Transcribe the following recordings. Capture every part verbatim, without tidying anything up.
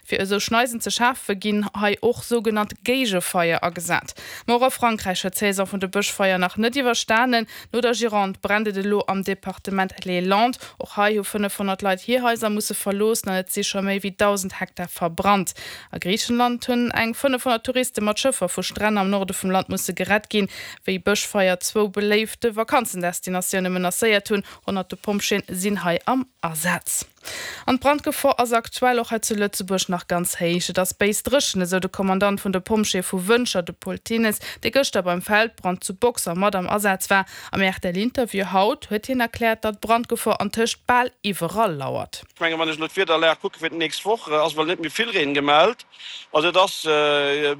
Fir esou Schneisen ze schafe ginn hei och sougenannt Géigefeier agesat. Ma och a Frankräich huet d'Saison vun de Bëschfeier nach net iwwerstanen. No der Gironde brennt et elo am Departement Les Landes. Och hei hu fënnefhonnert Leit hir Haiser musse verloossen an et si scho méi wéi dausend Hektar verbrannt. A Griichenland hunn eng fënnefhonnert Touriste mat Schëffer vu Stränn am Norde vum Land musse gerett ginn, wéi Bëschfeier zwou beléifte Vakanzendestinatioune menacéiert hunn. Honnerte Pompjeeën sinn hei am Asaz. An d'Brandgefor ass aktuell och hei zu Lëtzebuerg nach ganz héich. Et ass béis dréchen, esou de Kommandant vun de Pompjeeë vu Wëntger, de Paul Thines, dee gëschter beim Feldbrand zu Boxer mat am Asaz war. Am R T L-Interview haut huet hien erkläert, datt d'Brandgefor antëscht bal iwwerall lauert. Ech mengen, wann ech elo d'Wiederlag kucke fir d'nächst Woch, ass wuel net méi vill Reen gemellt. Also et ass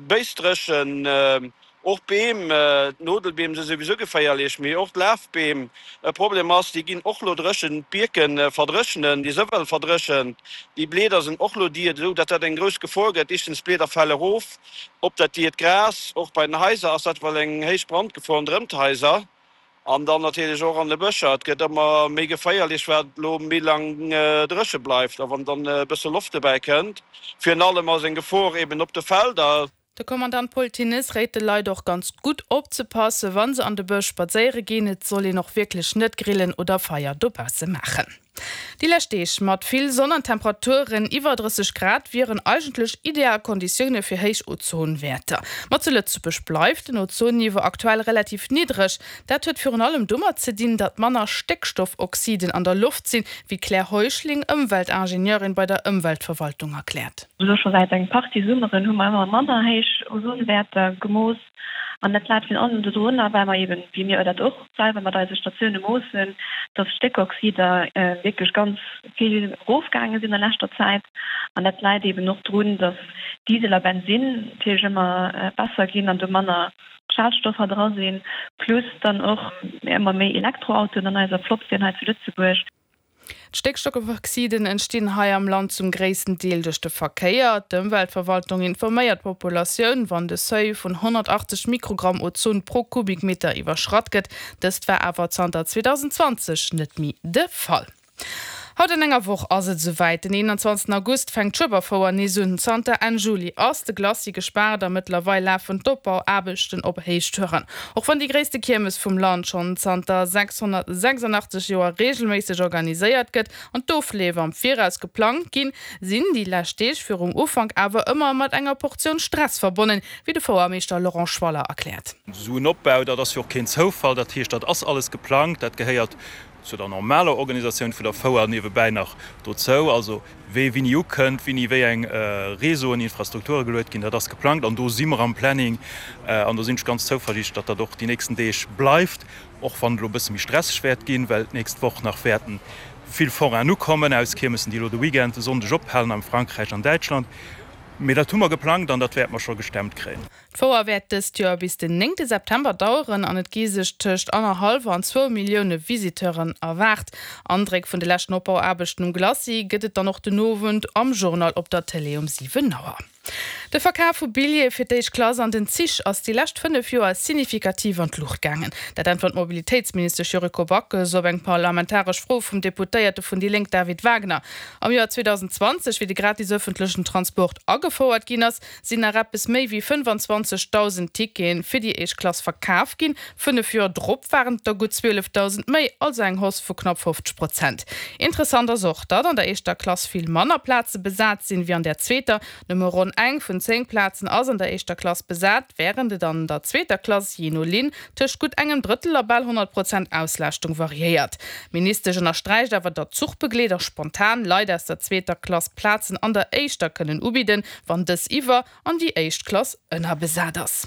béis dréchen. Och d'Beem, d'Nodelbeem si souwisou geféierlech, mee och d'Lafbeem. E Problem ass, déi ginn och lo dréchen, d'Bierke verdréchnen, déi si well verdréchent, déi Blieder sinn och lo dier, esou datt dat eng grouss Gefor gëtt. Éischtens, d'Blieder fale erof op dat diert Gras. Och bei den Haiser ass dat well eng héich Brandgefor ronderëm d'Haiser an dann natierlech och an de Bëscher. Et gëtt ëmmer méi geféierlech, wat lo méi laang dréche bleift a wann dann e bësse Loft dobäi kënnt. Virun allem ass eng Gefor eben op de Felder. De Kommandant Paul Thines réit de Leit och ganz gutt opzepassen, wa se an de Bësch spadséiere ginn. Et soll een och wierklech net grillen oder Feier dobausse maachen. Déi lescht Deeg mat vill Sonn an Temperaturen iwwer drësseg Grad wieren eigentlech ideal Konditioune fir héich Ozonwäerter. Ma zu Lëtzebuerg bleift den Ozonniveau aktuell relativ niddreg. Dat huet virun allem domat ze dinn, datt manner Stéckstoffoxiden an der Loft sinn, wéi d'Claire Heuschling, Ëmweltingenieurin bei der Ëmweltverwaltung erkläert. Elo scho säit eng Partie Summeren hu mer ëmmer manner héich Ozonwäerter gemooss. An dat läit virun allem dodrunner, well mer eben, wéi mir dat och selwer mat eise Statioune moossen, dass Stéckoxider wierklech ganz vill erofgaange sinn an leschter Zäit. An dat läit eben och drun, dass Diesel a Bensinn natierlech ëmmer besser ginn an do manner Schadstoffer dra sinn, plus dann och ëmmer méi Elektroautoen an eiser Flott sinn hei zu Lëtzebuerg. D'Stéckstoffoxiden entstinn hei am Land zum gréissten Deel duerch de Verkéier. D'Ëmweltverwaltung informéiert d'Populatioun, wann de Seuil vun honnertachtzeg Mikrogramm Ozon pro Kubikmeter iwwerschratt gëtt. Dëst war awer zanter zweedausendzwanzeg net méi de Fall. Haut an enger Woch ass et esouwäit, Den eenanzwanzegsten August fänkt d'Schueberfouer nees un. Zanter Enn Juli ass de Glacis gespaart a mëttlerweil lafen d'Opbauaarbechten op Héichtouren. Och wann déi gréisste Kiermes vum Land schonn zanter sechshonnertsechsundachtzeg Joer reegelméisseg organiséiert gëtt an d'Ofleef am Viraus geplangt ginn, sinn déi lescht Deeg virum Ufank awer ëmmer mat enger Portioun Stress verbonnen, wéi de Fouermeeschter Laurent Schwaller erkläert. Esou en Opbau, dat ass jo och keen Zoufall, dat heescht, dat ass alles geplangt, dat gehéiert zu der normaler Organisatioun vun der Fouer niewebäi nach dozou, also wéi wéini ukënnt, wéini wéi eng Réseauen, Infrastrukture geluet ginn, dat ass geplangt an do si mer am Planning an do sinn ech ganz zouversiichtlech, datt dat och déi nächsten Deeg bleift, och wann et elo e bësse méi stresseg wäert ginn, well d'nächst Woch nach wäerten vill Forainen ukommen aus Kiermessen, déi elo de Weekend, de Sonndeg ophalen am Frankräich an Däitschland. Mee dat hu mer geplangt an dat wäerte mer scho gestemmt kréien. D'Fouer wäert dëst Joer bis den néngte September daueren an et gi sech tëscht annerhallwer an zwou Millioune Visiteuren erwaart. Andréck vun de leschten Opbauaarbechten um Glacis gëtt et dann och den Owend am Journal op der Tëlee um siwen Auer. De Verkaf vu Billjeeë fir d'éischt Klass an den Zich ass déi lescht fënnef Joer signifikativ an d'Luucht gaangen. Dat äntwert d'Mobilitéitsministesch Yuriko Backes op eng parlamentaresch Fro vum Deputéierte vun déi Lénk David Wagner. Am Joer zweedausendzwanzeg, wéi de gratis ëffentlechen Transport agefouert ginn ass, sinn nach eppes méi wéi fënnefanzwanzegdausend Tickete fir déi éischt Klass verkaf ginn. Fënnef Joer drop waren et der gutt zwielefdausend méi, also eng Hausse vu knapp fofzeg Prozent. Interessant ass och, datt an der éischter Klass vill manner Plaze besat sinn, wéi an der zweeter. Nëmme ronn eng vun zéng Plazen ass an der éischter Klass besat, wärend et an der zweeter Klass, jee no Linn, tëscht gutt engem Drëttel a bal honnert Prozent Auslaaschtung variéiert. D'Ministesch ënnersträicht awer, datt Zuchbegleeder spontan Leit aus der zweeter Klass Plazen an der éischter kënnen ubidden, wann dës iwwer an déi éischt Klass ënnerbesat ass.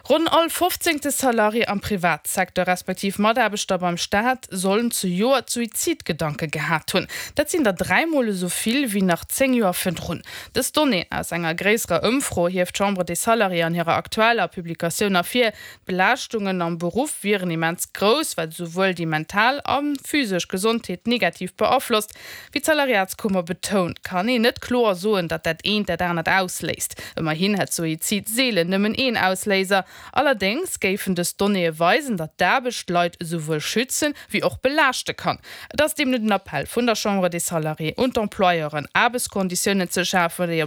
Ronn all fofzéngte Salarié am Privatsecteur respektiv Mataarbechter beim Staat sollen zejoert Suizidgedanke gehat hunn. Dat sinn der dräi Mol esou vill wéi nach zéng Joer virdrun. Dës Donnée aus enger gréisserer Ëmfro hieft d'Chambre des Salariés an hirer aktueller Publikatioun ervir. D'Belaaschtungen am Beruff wieren immens grouss, wat esouwuel déi mental a physesch Gesondheet negativ beaflosst. Wéi d'Salariatskummer betount, kann een net kloer soen, datt dat eent dat anert ausléist. Ëmmerhin hätt Suizid seelen nëmmen een Ausléiser. Allerdéngs géifen dës Donnéeë weisen, datt d'Aarbecht d'Leit esouwuel schützen, wéi och belaaschte kann. Et ass deemno den Appell vun der Chambre des Salariés un d'Employeuren, Aarbechtskonditiounen ze schafen, déi op